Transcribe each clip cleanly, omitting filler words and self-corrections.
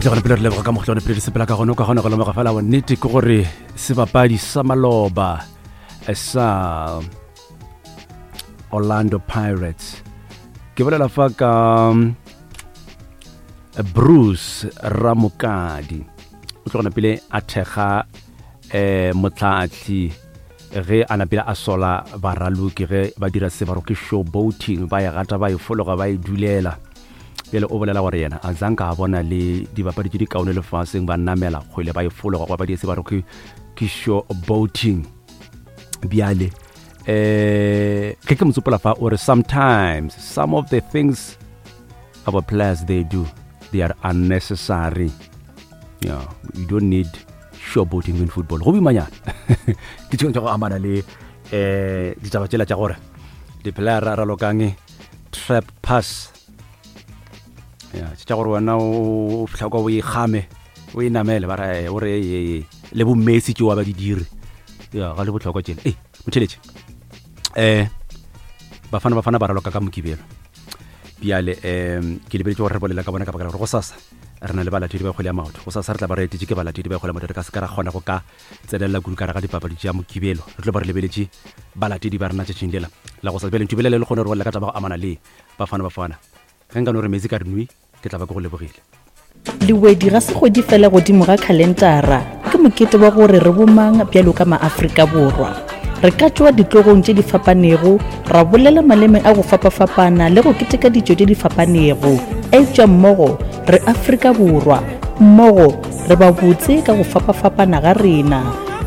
tlogele pele re leboga ka mogotlwane pele re sepela ka gone o ka gona go lemoga fela bonnete ke gore sebapadi sa maloba eh, sa orlando pirates ke bolela fa ka eh, bruce ramokadi o tlogona pele a thekga um motlhatlhi ge a napile a sola baraloki ge ba dira se ba ke show boating ba e gata ba e fologa ba e dulela bjale o bolela gore yena a zanka a bona le dibapadi tše di kaone lefaseng ba namela kgwele ba e fologa go bapadi se ba re ke show boating bjale eh ge ke motsopola fa o re sometimes some of the things our players they do they are unnecessary yeah you don't need showboating in football go boimanyana ke tšengwe tša go amana le um ditaba tšela tša gore di-player ra ralokang trap pass ya tša gore wena o fitlha kwa o ikgame o e namele ba re o re ee le bo Messi tšeo ba di dire ya ga le botlhokwa tšela ee motheletše um bafana bafana ba raloka ka mokibelo bjale um ke lebeletše gore re bolela ka bona ka baka la gore go sasa re na le balatedi ba kgwele ya maoto go sasa re tla ba re etetše ke balatedi ba kgwele ya maoto re ka se ka ra kgona go ka tsenelela kudu ka re ga dipapadi tša mokibelo re tlo ba re lebeletše balatedi ba rena tšatšing lela la go sa bjale ntubelele le kgone re bolela ka taba go amana le bafana bafana ge nka no re metsi ka re nwe ke tla ba ke go lebogile Lewedi ga se kgwedi fela godimo ga khalentara, ke mokete wa gore re bomang bjalo ka maAfrika Borwa. Re ka tšwa ditlogong tše di fapanego, ra bolela maleme a go fapafapana le go keteka ditšo tše di fapanego, eupša mmogo re Afrika Borwa, mmogo re ba botse ka go fapafapana ga rena.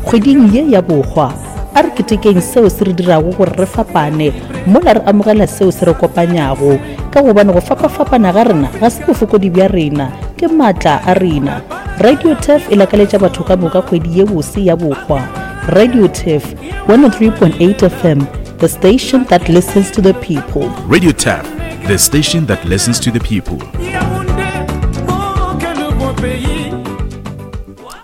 Kgweding ye ya Bohwa, a re ketekeng seo se re dirago gore re fapane mola re amogela seo se re kopanyago. Ka gobane go fapafapana ga rena ga se bofokodi bja rena, ke maatla a rena. Radio Turf e lakaletša batho ka moka kgwedi ye bose ya bohwa. Radio Turf, 103.8 FM, the station that listens to the people. Radio Turf, the station that listens to the people.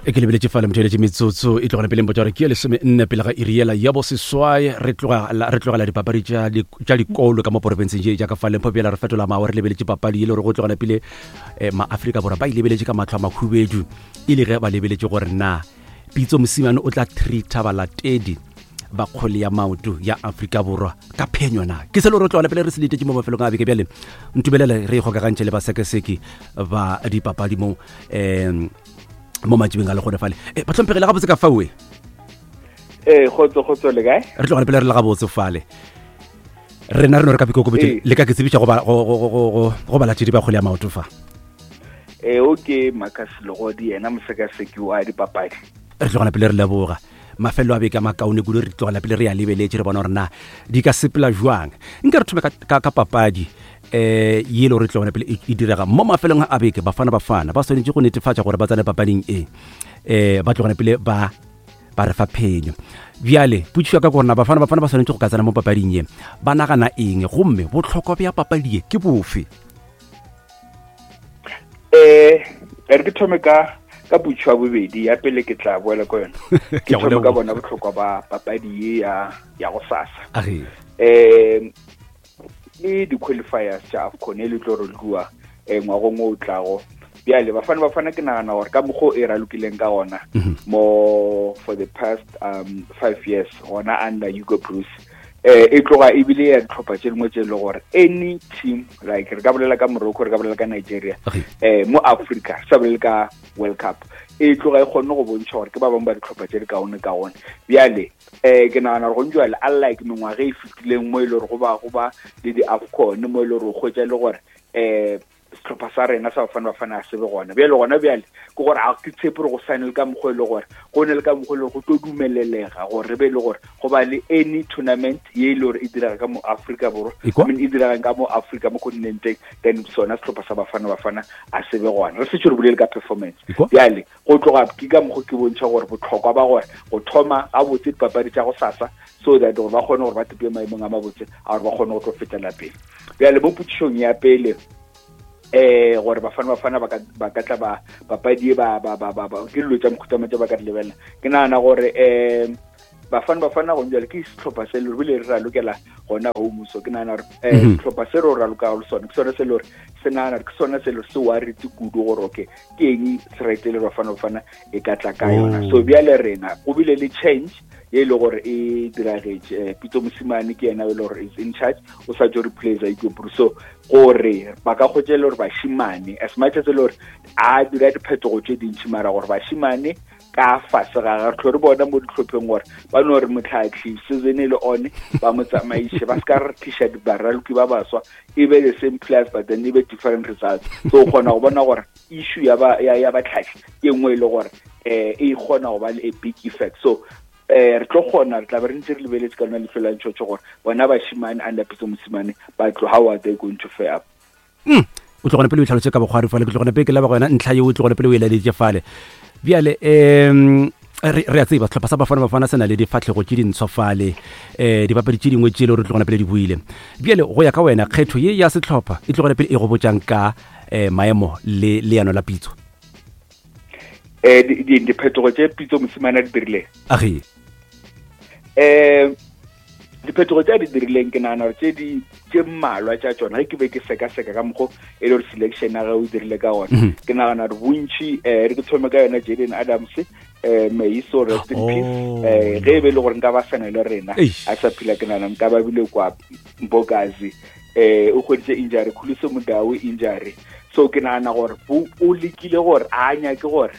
E ke lebeletše fale motheeletše metsotso e tlogela peleng botša gore ke ye lesome nne pele ga iri yela ya boseswai re tlogela re tlogela dipapadi tša di- tša dikolo ka mo porofenseng je jaaka fale mpho bjela re fetola mawa re lebeletše papadi e le gore go tlogela pele eh, maaforika borwa ba e lebeletše ka matlho a makhubedu e le ge ba lebeletše gore na pitso mosimane o tla treata balatedi ba kgwele ya maoto ya afrika borwa ka phenyo na ke se le gore tlogela pele re se letetše mo mafelong a beke bjale ntumelele re ikgokagantšhe le basekaseki ba dipapadi mo um mo matšibeng a le gone fale e batlhomphegile gabotse ka faue ee kgotso kgotso le kae re tlogale pele re le gabotse fale rena re no re ka bikokobetso Ee. le ka ke tsebiša go ba- go- go- go- go- go balatedi ba kgwele ya maoto fa ee o ke marcus legodi yena mosekaseki wa dipapadi re tlogela pele re leboga mafelelo a beke a makaone kudu re tlogela pele re ya lebeletše re bona gore na di ka sepela jwang nka re thome ka, ka, ka papadi eh ye le gore tlogela pele e, e direga mo mafelong a beke bafana bafana ba swanetše go netefatša gore ba tsene papading e eh ba tlogela pele ba ba re fa phenyo bjale potšišo ka gore na bafana bafana ba swanetše go ka tsena mo papading ye ba nagana eng gomme bohlokwa bja papadi ye ke bofe eh re ke thome ka ka potšišo ya bobedi ya pele ke tla boela ko yona ke thome ka bona bohlokwa ba papadi ye ya ya go sasa um ke di-qualifiers tša afcon e le tlo re tluwa um ngwagong o tlago bjale bafana bafana ke nagana gore ka mokgwa e ralokileng ka gona mhm. mo for the past um five years gona under hugo bruce eh e tloga ebile ya ditlhopha tše dingwe tše e le gore any team like re ka bolela ka morocco re ka bolela ka nigeria eh mo africa re sa bolele ka world cup e tloga e kgonne go bontšha gore ke ba bangwe ba ditlhopha tše di kaone kaone bjale eh ke nagana gore gontši jale unlike mengwaga e fetileng mo e le gore go ba go ba le di-afcon mo e le gore o kgwetsa e le gore eh setlhopha sa rena sa bafana bafana a se be gona bjale gona bjale ke gore a ke tshepe gore go sane le ka mokgwa e le gore go ne le ka mokgwa e le gore go tlo dumelelega gore re be e le gore go ba le any tournament ye e le gore e direga ka mo Afrika Borwa I mean e diregang ka mo Afrika mo continenteng then sona setlhopha sa bafana bafana a se be gona re setse re bolele ka performance bjale go tloga ke ka mokgwa ke bontšha gore botlhokwa ba gore go thoma gabotse dipapadi tša go sasa so that gore ba kgone gore ba tepe maemong a mabotse a gore ba kgone go tlo fetela pele bjale mo potšišong ya pele eh gore bafana bafana ba ka ba ka tla ba papadi e ba ba ba ba ke dilo tša mokhutama tše ba ka di lebelela ke nagana gore eh Bafana Bafana gone jale ke setlhopha se le bile re ralokela gona home, so ke nagana gore um setlhopha se re o ralokago le sone ke sone se le gore se nagana ke sone se le se waretse kudu gore okay ke eng threat e le Bafana Bafana e ka tla ka yona. So bjale rena go bile le change ye e le gore e diragetše. Pitso Mosimane ke yena e le gore is in charge, o sa tšo replace Hugo Broos. So gore ba ka kgotse le gore bashimane, as much as e le gore a dira diphetogo tše dintšhi, mara gore bashimane ka fase ga gare tlho re bona mo ditlhopheng gore ba no re motlhatlhi season e le one ba mo tsamaiše, ba se ka re tliša baraloki ba baswa, e be the same players but then e be different results. So o kgona go bona gore issue ya ba ya ya batlhatlhi ke nngwe e le gore e kgona go ba le a big effect. So re tlo kgona, re tla be re ntse re lebeletse ka lona leihlo la ntšhotšho gore bona bashimane under Pitso Mosimane ba tlo, how are they going to fare up? O tlogone pele o itlhalose ka bokgwari fale, ke tlogone pele ke leba go yona ntlha yeo, o tlogone pele o e laleditše fale. Bjale um re a tseba setlhopha sa Bafana Bafana se na le difatlhego tše dintsho fale, dipapadi tše dingwe tše le gore tlogone pele di buile. Bjale go ya ka wena, kgetho ye ya setlhopha e tlogone pele e go botšang ka maemo le leano la Pitso? Diphetogo tše Pitso Mosimane a di dirileng? Age. Diphetogo tse a di dirileng, ke nagana gore tse di tse mmalwa tša tsona, ge ke be ke sekaseka ka mokgo e le gore selection ya ge o dirile ka gona, ke nagana gore bontši, re ke thome ka yona Jaden Adams, may he so rest in peace, ge e be e le gore nka ba sane le rena a sa phela, ke nagana nka ba bile kwa Mbokazi, o hweditše injury, Khuliso Mudau injury. So ke nagana gore o lekile gore a nyake gore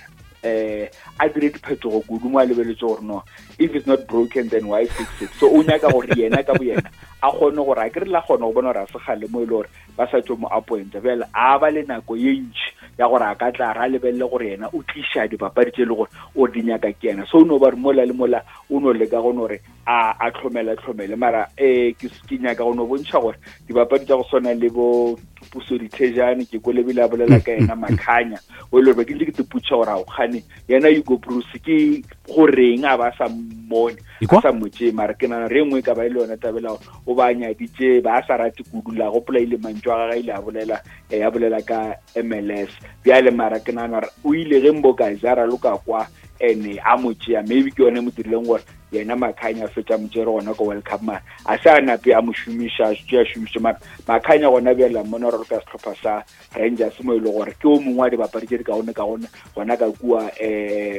a dire diphetogo kudu mo a lebeletse gore no, if it's not broken then why fix it. So o nyaka gore yena ka boyena a kgone gore a kere la kgona go bona gore a se gale mo e le gore ba sa tšo mo appointa, bjale a ba le nako ye ntši ya gore a ka tla ra lebelele gore yena o tliša dipapadi tše e le gore o di nyaka ke yena. So o no ba re mola le mola o no leka go no re a tlhomela tlhomele, mara ke nyaka go no bontšha gore dibapadi tša go swana le bo Puso Dithejane, ke kwele bile a bolela ka yena Makhanya, o e le gore ke ntse ke teputšha gore a o kgane yena Hugo Broos ke goreng a ba sa mmone, a sa mo tšee. Mara ke nagana re nngwe e ka ba e le yona tabela gore o ba nyaditše, ba sa rate kudu la gopola ile mantšu a gagwe ile a bolela, a bolela ka MLS bjale. Mara ke nagana gore o ile ge Mbokazi a raloka kwa ene a mo tšea, maybe ke yone mo dirileng gore yena Makhanya a fetša motšere gona ko World Cup, mara a se a nape a mo šomiša, a tšea šomiše. Mara Makhanya gona bjale mmona gore ka sehlopha sa Rangers mo e le gore ke o mongwe wa dibapadi tše di kaone kaone gona ka kua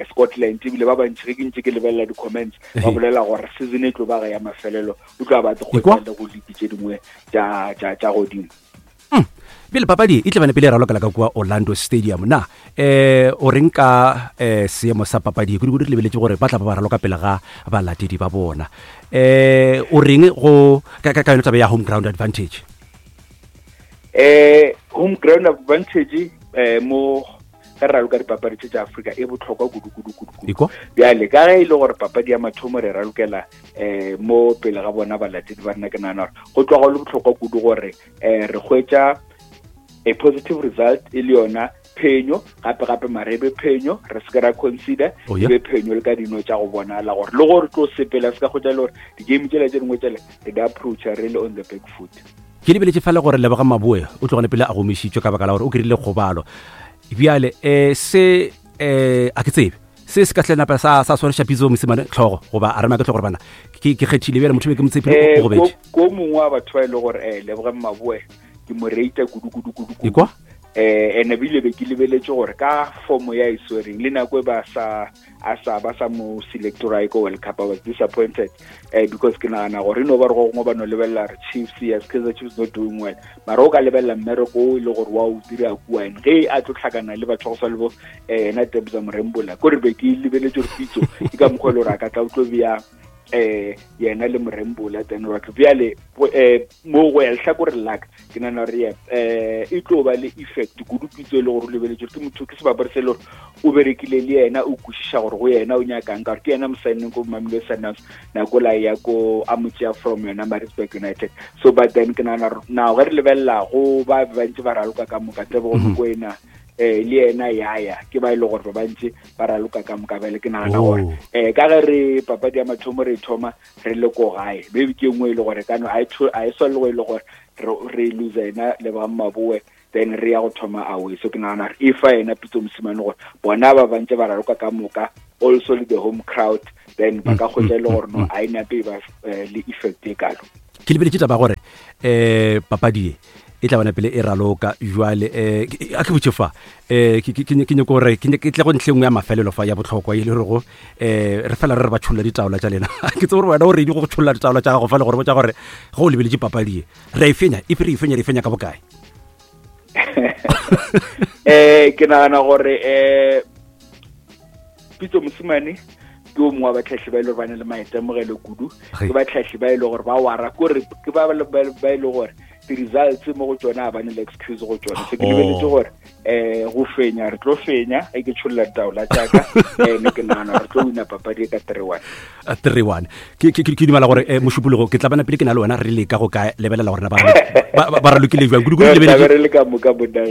Scotland, ebile ba bantši ge ke ntše ke lebelela di-comments ba bolela gore season e tlo ba ge ya mafelelo o tlo ba tlo le go ligi tše dingwe tša godimo. Bjale papadi e tlebane pele e ralokela ka kua Orlando Stadium. Na o reng ka seemo sa papadi, kudu-kudu re lebeletše gore ba tla ba ba raloka pele ga balatedi ba bona? O reng go ka yone taba ya home ground advantage? Home ground advantage mo ge re raloka dipapadi tše tša Afrika e bohlokwa kudu kudu kudu kudu. Bjale ka ge e le gore papadi ya mathomo re ralokela mo pele ga bona balatedi ba rena, ke nagana gore go tloga go le bohlokwa kudu gore re hwetša a positive result e le yona phenyo, gape gape marebe phenyo re se ke ra consider e be phenyo le ka dino tša go bonala gore le gore tlo sepela se ka kgotsa le gore di-game tšela tše dingwe tšela re di approacha re le on the back foot. Ke lebeletše fale gore Leboga Maboe o tlogone pele a gomišitšwe ka baka la gore o kry-ile kgobalo. Bjale se a ke tsebe se se ka tle napa sa swariša Pitso Mosimane tlhogo goba a rema ke tlhogo gore bana ke kgethile bjale motho be ke mo tshepile o gobetše. Ko mongwe wa batho ba e le gore Leboga Maboe ke mo rata kudu kudu kudu kudu. Ikwa? Ene bile be ke lebeletse gore ka form ya e swereng le nako e ba sa a sa ba sa mo selectora ko World Cup, I was disappointed because ke nagana gore no ba re go gongwe ba no lebelela re Chiefs, yes, Kaizer Chiefs not doing well, mara o ka lebelela mmereko o e le gore wa o dira kua, and ge a tlo tlhakana le batho go sa le bo ena Tebza Morembola, ko re be ke lebeletse gore Pitso ke ka mokgwa e le gore a ka tla o tlo bea yena le Morembola, then wa tlo bjale mo go ya lehlakoreng la ka, ke nagana gore e tlo ba le effect kudu Pitso e le gore o lebeletse ke motho ke sebapadi se e le gore o berekile le yena, o kwešiša gore go yena o nyakang, ka gore ke yena mosaeneng ko Mamelodi Sundowns nako la ya ko a mo tšea from yona Maritzburg United. So but then ke nagana gore now ge re lebelela go ba bantši ba raloka ka moka, Tebogo Mokoena le yena yaya ke ba e le gore ba bantši ba raloka ka moka. Bjale ke nagana gore ka ge re papadi ya mathomo re thoma re le ko gae, maybe ke nngwe e le gore kano a e swane le go e le gore re lose yena le ba Maboe, then re ya go thoma away. So ke nagana gore e fa yena Pitso Mosimane gore bona ba bantse ba raloka ka moka, also le the home crowd. then ba ka kgwetsa e le gore no a e nape e ba eh, le effect e kalo. Ke lebeletše taba gore um papadi e e tla bona pele e raloka jwale um a ke botše fa um ke nyako gore ke tle go ntlhe nngwe ya mafelelo fa ya botlhokwa e le rego um re fela re re ba tšholola ditaola tša lena. Ke tse gore wena o redi go tšholola ditaola tša gago fa le gore botša gore ge o lebeletše papadi e re e fenya, if re e fenya, re e fenya ka bokae? Ke nagana gore Pitso Mosimane ke o mongwe wa batlhahli ba e le gore ba na le maitemogelo kudu, ke batlhahli ba e le gore ba wara kore ke ba ba e le gore di-results mo go tsone a ba ne le excuse go tsone. So ke lebeletse gore go fenya, re tlo fenya e ke tsholola ditaola jaaka ne ke nagana re tlo wina papadi e ka 3-1. 3-1. Ke dumela gore Mošupologo ke tla bana pele ke na le wena re leka go ka lebelela gore na ba ralokile jwang.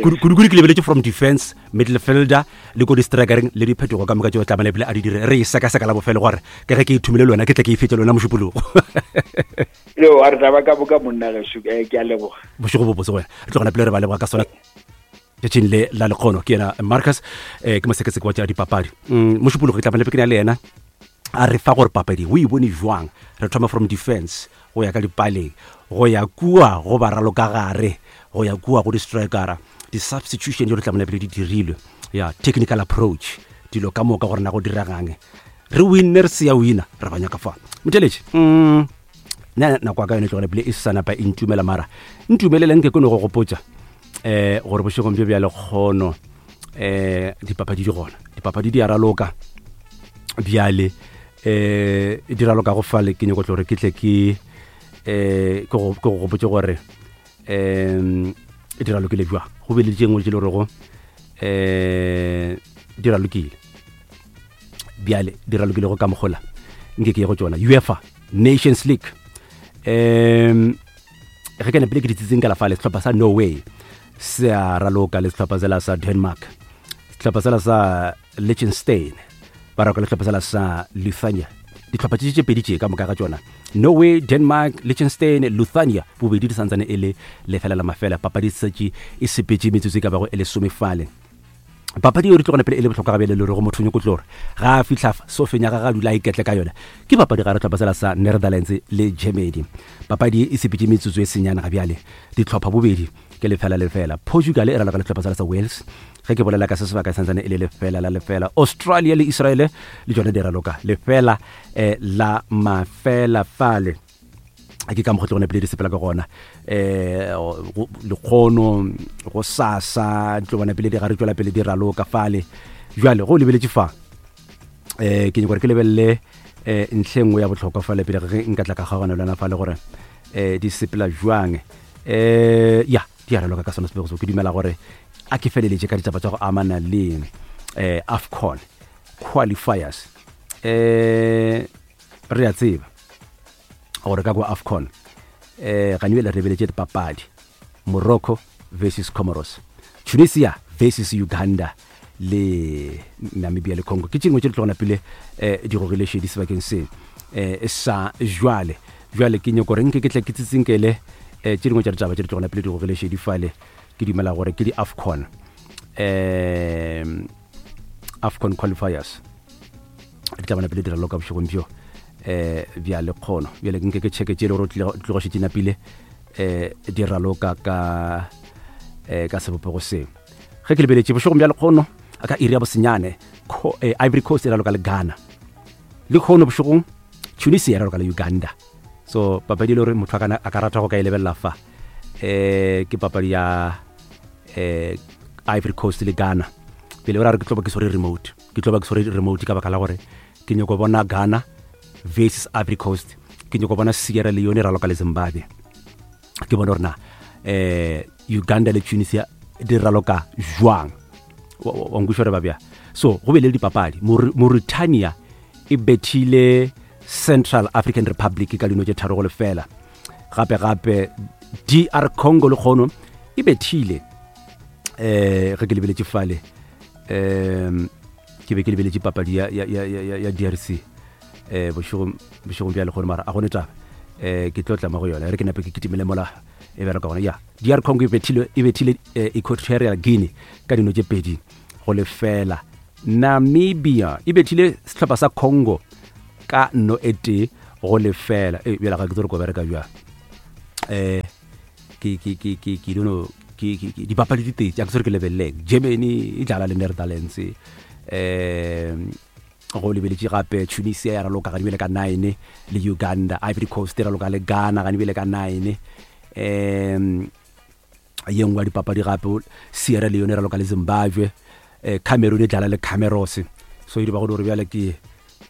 Kudu-kudu ke lebeletse from defense, midfielder le ko di-strikereng le diphetogo ka moka tšeo tla bana pele a di dire, re e sekaseka la bofelo gore ke ge ke ithomile le wena ke tle ke e fetse le wena Mošupologo. Yo, a re tla ba ka boka monna gešo, ke a leboga. Bošego bo botse go wena. Re tlogela pele re ba leboga ka sona tšatšing le la lekgono. Ke yena Marcus, ke mosekaseki wa tša dipapadi. Mošupologo ke tla bana pele ke na le yena a re fa gore papadi o e bone jwang. Re thoma from defense go ya ka dipaleng, go ya kua go baraloka gare, go ya kua go di-strikera, di-substitution tšeo di tlamela pele di dirilwe, ya technical approach, dilo ka moka gore na go diregang, re winne re se ya wina, re ba nyaka fa motheletše. Nna nako ya ka yone tlogele pele e sa napa e ntumela, mara ntumelele nke ke no go gopotša gore bošegong bjo bja lekgono dipapadi di gona, dipapadi di a raloka bjale, di raloka go fale. Ke nyako tlo gore ke tle ke ke go gopotše gore di ralokile jwa go bile le tše nngwe tše le gorego di ralokile bjale, di ralokile go ka mogola nke ke ye go tšona. UEFA Nations League, ge ke nepile ke di tsitseng ka lafale, sehlopha sa Norway se a raloka le sehlopha sela sa Denmark, sehlopha sela sa Liechtenstein ba raloka le sehlopha sela sa Lithuania. Dihlopha tše tše pedi tše ka moka ga tšona, Norway, Denmark, Liechtenstein, Lithuania, bobedi di santsane e le lefela la mafela. Papadi setše e sepetše metsotso e ka bago e lesome fale. Papadi eo re tlogone pele e le bohlokwa gabjale le gore go motho nyoko tlo gore ga a fihla so fenya ga ga dula a iketle ka yona, ke papadi ga re tlhopha sela sa Netherlands le Germany. Papadi e sepetše metsotso e senyane gabjale, dihlopha bobedi ke lefela lefela. Portugal e raloka le hlopha sela sa Wales, ge ke bolela ka se sebaka santsane e le lefela la lefela. Australia le Israel le tšona di raloka lefela la mafela fale. Ke ka mokgwa tlogone pele di sepela ka gona lekgono go sasa di tlo bona pele di gare tšwela pele di raloka fale. Jwale go lebeletše fa ke nyaka gore ke lebelele ntlha e nngwe ya bohlokwa fale pele ge nka tla ka kgaogana le yona fale gore di sepela jwang. Ya di a raloka ka sona sebego seo. Ke dumela gore a ke feleletše ka ditaba tša go amana le AFCON qualifiers. Re a tseba gore ka kwa AFCON gane bjale re lebeletše dipapadi, Morocco versus Comoros, Tunisia versus Uganda le Namibia le Congo, ke tše dingwe tše di tlogona pele di gogile šedi sebakeng se sa jwale. Jwale ke nyako gore nke ke tle ke tsitsinkele tše dingwe tša ditaba tše di tlogona pele di gogile šedi fale. Ke dumela gore ke di AFCON, AFCON qualifiers di tla bona pele di raloka bošegong bjo bja lekgono. Bjale nke ke checke tše le gore tlogo šetše napile di raloka ka ka sebopego se. Ge ke lebeletše bošegong bja lekgono ka iri ya bosenyane, Ivory Coast e raloka le Ghana, le kgono bošegong Tunisia e raloka le Uganda. So papadi e le gore motho a ka rata go ka e lebelela fa ke papadi ya Ivory Coast le Ghana. Pele o ra re ke tlo ba ke swere remote, ke tlo ba ke swere remote ka baka la gore ke nyako bona Ghana versus Ivory Coast, ke nyako bona Sierra Leone raloka le Zimbabwe, ke bone gore na Uganda le Tunisia di raloka jwang. Wa nkweša gore ba bja. So go bile le dipapadi, Mauritania e bethile Central African Republic ka dino tše 3-0. Gape gape DR Congo le kgono e bethile ge ke lebeletše fale ke be ke lebeletše papadi ya, ya, ya, ya, ya DRC bošegong bja lekgono, mara a gone taba ke tlo tlama go yona, re ke nape ke kitimele mola e bereka gona. Ya DR Congo e bethile, e bethile Equatorial Guinea ka dino tše 2-0. Namibia e bethile sehlopha sa Congo ka nno e tee go lefela. E bjale ga ke tsore ko bereka bjang. Eh ke ke ke ke ke don't know ke ke dipapadi di tee ke tsore ke lebeleleng. Germany e dlala le Netherlands. Eh go lebeletše gape Tunisia ya raloka gane bjale ka 9 le Uganda, Ivory Coast e raloka le Ghana gane bjale ka 9. Um ye nngwe ya dipapadi gape Sierra Leone e raloka le Zimbabwe, eh, Cameroon e dlala le Cameros. So e di ba go gore bjale ke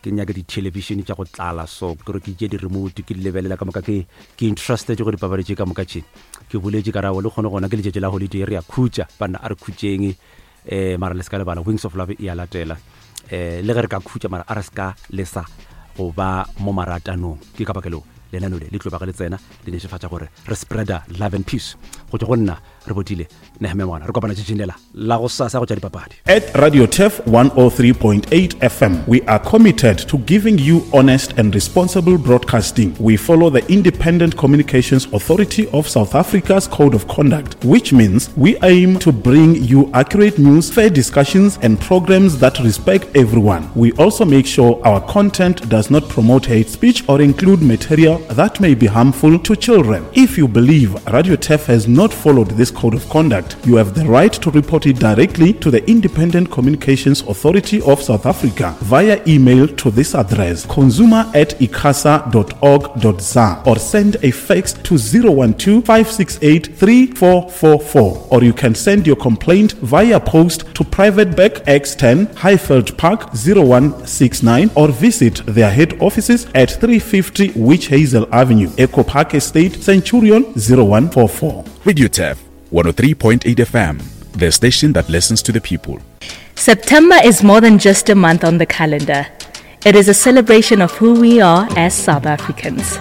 ke nyake di-television tša go tlala so ke re ke tše di-remote ke di lebelela ka moka ke ke interested go dipapadi tše ka moka tše ke boletše ka rago le kgone gona ke letšatši la holiday re ya khutša banna a re khutšeng eh mara le se ka lebala Wings of Love e a latela eh le ge re ka khutša mara a re se ka lesa go ba mo maratanong ke ka baka leo lenano le le tlo ba ge le tsena le netefatša gore re spreada love and peace go tšwa go nna re botile nehemia ngwana re kopana tšatšing lela la go sasa go tša dipapadi. At Radio Turf 103.8 FM, we are committed to giving you honest and responsible broadcasting. We follow the Independent Communications Authority of South Africa's Code of Conduct, which means we aim to bring you accurate news, fair discussions, and programs that respect everyone. We also make sure our content does not promote hate speech or include material that may be harmful to children. If you believe Radio Turf has not followed this code of conduct, you have the right to report it directly to the Independent Communications Authority of South Africa via email to this address consumer at icasa.org.za or send a fax to 012 568 3444 or you can send your complaint via post to Private Bag X10 Highveld Park 0169 or visit their head offices at 350 Witch Hazel Avenue, Echo Park Estate, Centurion 0144. Radio Turf 103.8 FM, the station that listens to the people. September is more than just a month on the calendar. It is a celebration of who we are as South Africans.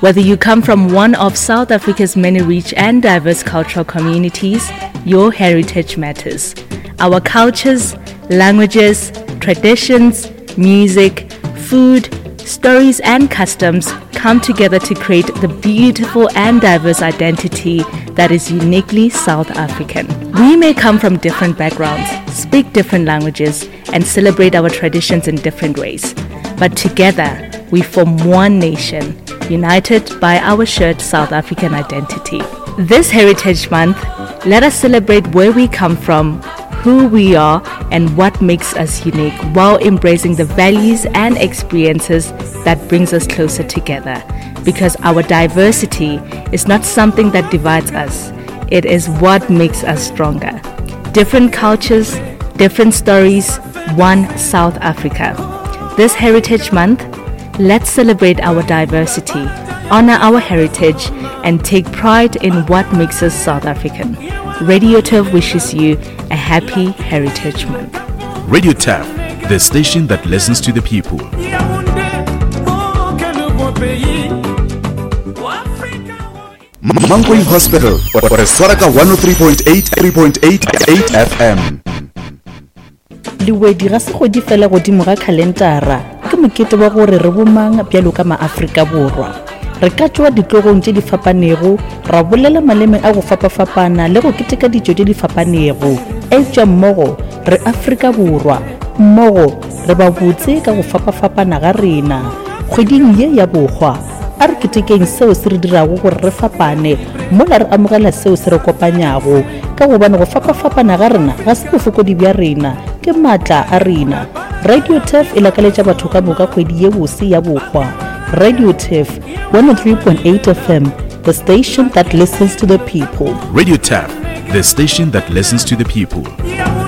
Whether you come from one of South Africa's many rich and diverse cultural communities, your heritage matters. Our cultures, languages, traditions, music, food, stories, and customs come together to create the beautiful and diverse identity that is uniquely South African. We may come from different backgrounds, speak different languages, and celebrate our traditions in different ways. But together, we form one nation, united by our shared South African identity. This Heritage Month, let us celebrate where we come from, who we are, and what makes us unique while embracing the values and experiences that brings us closer together. Because our diversity is not something that divides us, it is what makes us stronger. Different cultures, different stories, one South Africa. This Heritage Month, let's celebrate our diversity, honor our heritage, and take pride in what makes us South African. Radio Turf wishes you a happy Heritage Month. Radio Turf, the station that listens to the people. Mankweng Hospital o re swara ka 103.8 3.8 FM. Lewedi ga se kgwedi fela godimo ga khalentara, ke mokete wa gore re bomang bjalo ka maAfrika Borwa. Re ka tšwa ditlogong tše di fapanego, ra bolela maleme a go fapafapana le go keteka ditšo tše di fapanego, eupša mmogo re Afrika Borwa, mmogo re ba botse ka go fapafapana ga rena. Kgweding ye ya Bohwa, a re ketekeng seo se re dirago gore re fapane mola re amogela seo se re kopanyago, ka gobane go fapafapana ga rena ga se bofokodi bja rena, ke maatla a rena. Radio Turf e lakaletša batho ka moka kgwedi ye bose ya bohwa. Radio Turf, 103.8 FM, the station that listens to the people. Radio Turf, the station that listens to the people.